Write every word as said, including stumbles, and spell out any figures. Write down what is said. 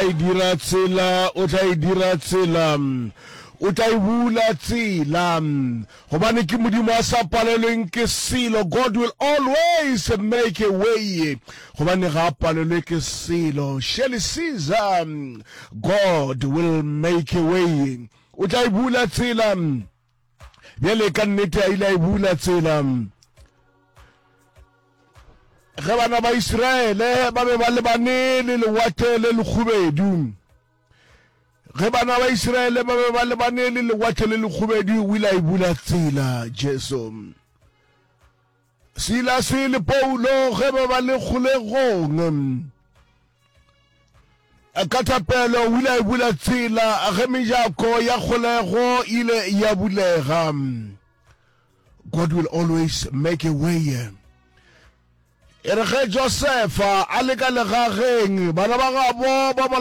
tla e dira tsela, o tla e dira tsela, o tla e bula tsela, gobane ke Modimo a sa palelweng ke selo. God will always make a way, gobane ga a palelwe ke selo. Shirley Caesar, God will make a way, o tla e bula tsela. Bjale ka nnete a ile a e bula tsela. Ge bana ba Israele ba be ba lebane le lewatle le lekhubedu, ge bana ba Israele ba be ba lebane le lewatle le lekhubedu, o ile a e bula tsela. Jesu. Silase le Paulo ge ba ba le kgolegong, ka thapelo o ile a e bula tsela ge mejako ya kgolego ile ya bulega. God will always make a way. E re ge Josefa a le ka legageng, bana ba gabo ba mo